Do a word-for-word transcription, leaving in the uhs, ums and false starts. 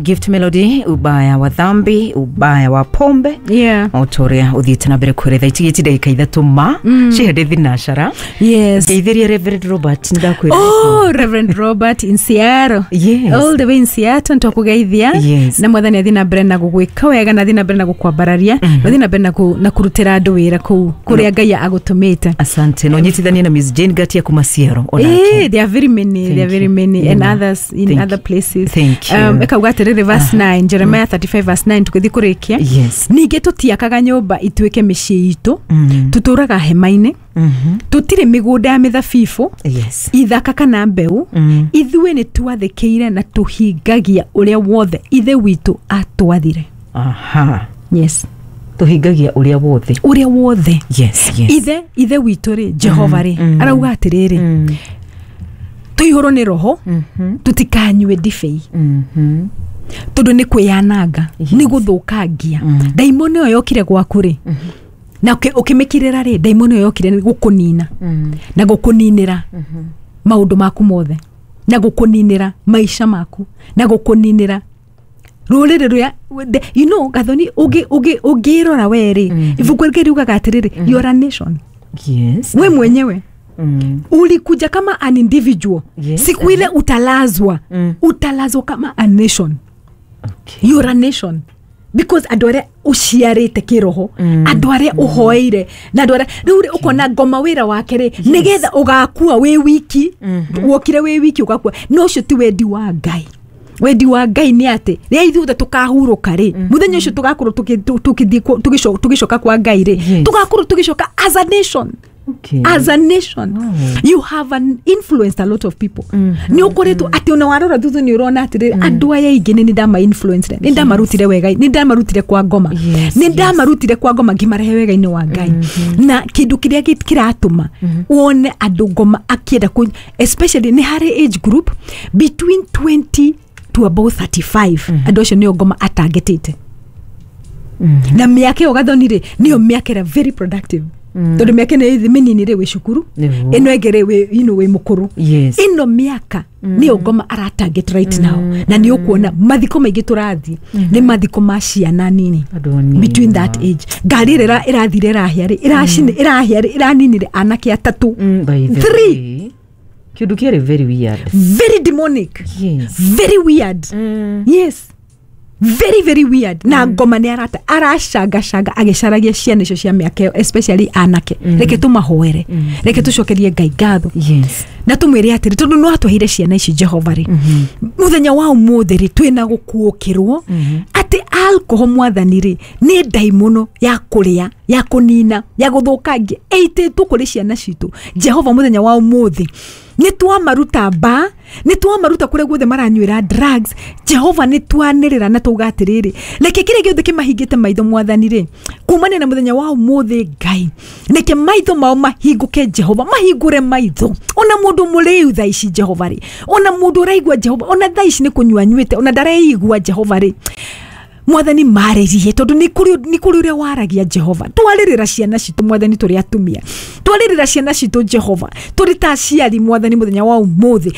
Gift Melody, ubaya wa dhambi, ubaya wa pombe. Yeah. O ta ũrĩa ũthiĩte na mbere kwĩretha itigĩti ndagĩka ithatũ ma cihende thinacara. Yes. Ngeithĩria Reverend Robert, nĩndakwĩra. Oh, Reverend Robert in Seattle. Yes. All the way in Seattle, ntwakugeithia. Yes. Na Mwathani athi na mbere na gũgwĩka wega, na athi na mbere na gũkwambararia, na athi na mbere na kũ- na kũrutĩra andũ wĩra kũu kũrĩa Ngai agũtũmĩte. Asante. No nyitithanie na Miss Jane Gatia kuma Seattle onake. Eh, there are very many, there are Thank very you. many, and Yeah. others in Thank other you. places. Thank you. Um, ĩkauga atĩrĩrĩ, verse nine, Jeremiah thirty-five verse nine, tũgĩthiĩ kũrĩkia. Yes. Ningĩ tũtiakaga nyũmba ituĩke mĩciĩ itũ, Mm. tũtũraga hema-inĩ, Mhm. tũtirĩ mĩgũnda ya mĩthabibũ, Yes. ithaka kana mbeũ. Mm. Ithuĩ nĩ twathĩkĩire na tũhingagia ũrĩa wothe Ithe witũ atwathire. Aha. Yes. Tũhingagia ũrĩa wothe. Ũrĩa wothe. Yes, yes. ithe ithe witũ rĩ, Jehova rĩ, mm. arauga atĩrĩrĩ, Mm. tũihũrwo nĩ Roho, Mhm. tũtikanyue ndibei, Mhm. tondũ nĩ kwĩyananga, Yes. nĩ gũthũkangia. Mm. Ndaimono ĩyo yokire gwaku rĩ, na ũkĩ- ũkĩmĩkirĩra rĩ, ndaimono ĩyo yokire nĩ gũkũnina Mm. na gũkũninĩra maũndũ maku mothe, na gũkũninĩra maica maku, na gũkũninĩra rũrĩrĩ rũrĩa the- you know Gathoni, ũngĩ- ũngĩ- ũngĩrora we rĩ, Mhm. ibuku rĩngĩ riugaga atĩrĩrĩ, you are a nation. Yes. We mwenyewe Mm. ulikuja kama an individual. Yes. Siku ile utalazwa, Mm. utalazwa kama a nation. Okay. You're a nation because andũ arĩa ũciarĩte kĩroho, Mm. andũ arĩa ũhoeire, na andũ arĩa rĩu rĩ, ũkona Ngoma wĩra wake rĩ, nĩgetha ũgakua wĩ wiki. Wokire wĩ wiki, ũgakua, no ũcio ti wendi wa Ngai. Wendi wa Ngai nĩ atĩ rĩrĩa ithuothe tũkahurũka rĩ, mũthenya ũcio tũgakorwo tũkĩ- tũ- tũkĩthiĩ kwa- tũgĩco- tũgĩcoka kwa Ngai rĩ, Yes. tũgakorwo tũgĩcoka as a nation. Okay. As a nation. Wow. You have an influenced a lot of people. Nĩ ũkoretwo atĩ ona warora thutha nĩ ũrona atĩrĩrĩ, andũ aya aingĩ nĩ ndama influenced, nĩ ndamarutire wega, nĩ ndamarutire kwa Ngoma, Yes, nĩ ndamarutire kwa Ngoma ngĩmarehe wega-inĩ wa Ngai. Na kĩndũ kĩrĩa gĩ- kĩratũma wone andũ Ngoma akĩenda kũ, especially nĩ harĩ age group between twenty to about thirty-five, andũ acio nĩo Ngoma atangetĩte. Na mĩaka ĩyo, Gathoni, rĩ, nĩyo mĩaka ĩrĩa very productive, tondũ mĩaka ĩno ĩthĩ mĩnini rĩ, wĩ cukuru. Nĩguo. Ĩno ĩngĩ rĩ, wĩ you know, wĩ mũkũrũ. Yes. Ĩno mĩaka nĩyo Ngoma aratarget right now, na nĩ ũkuona mathiko maingĩ tũrathiĩ nĩ mathiko ma ciana nini. Andũ anini. Between that age, ngari ĩrĩa ĩra- ĩrathire ĩrahĩa rĩ, ĩracini ĩrahĩa rĩ, ĩraninire anake atatũ. Mm, by the Three. way, kĩndũ kĩarĩ very weird. Very demonic. Yes. Very weird. Mm. Yes, very very weird. Na Ngoma nĩ arata aracangacanga agĩcaragia ciana icio cia mĩaka ĩyo, especially anake. Reke tũmahoere, reke tũcokerie Ngai ngatho Yes. na tũmwĩre atĩrĩ, tondũ no atweheire ciana ici, Jehova rĩ, mũthenya wa ũmũthĩ rĩ, twĩna gũkuũkĩrwo atĩ alcohol, Mwathani rĩ, nĩ ndaimono ya kũrĩa, ya kũnina, ya gũthũkangia, ĩitĩtwo kũrĩ ciana citũ. Jehova, mũthenya wa ũmũthĩ nĩ twamaruta mba, nĩ twamaruta kũrĩa guothe maranyuĩra drugs. Jehova, nĩ twanĩrĩra na tauga atĩrĩrĩ, reke kĩrĩa gĩothe kĩmahingĩte maitho, Mwathani rĩ, kumania na mũthenya wa ũmũthĩ, Ngai, reke maitho mao mahingũke. Jehova, mahingũre maitho. Ona mũndũ mũrĩu thaa ici, Jehova rĩ, ona mũndũ ũraigua, Jehova, ona thaa ici nĩ kũnyua anyuĩte, ona ndareigua, Jehova rĩ, Mwathani, marĩrie, tondũ nĩ kũrĩ nĩ kũrĩ ũrĩa waragia. Jehova, twarĩrĩra ciana citũ, Mwathani, tũrĩ atumia, twarĩrĩra ciana citũ, Jehova, tũrĩ ta aciari, Mwathani, mũthenya wa ũmũthĩ.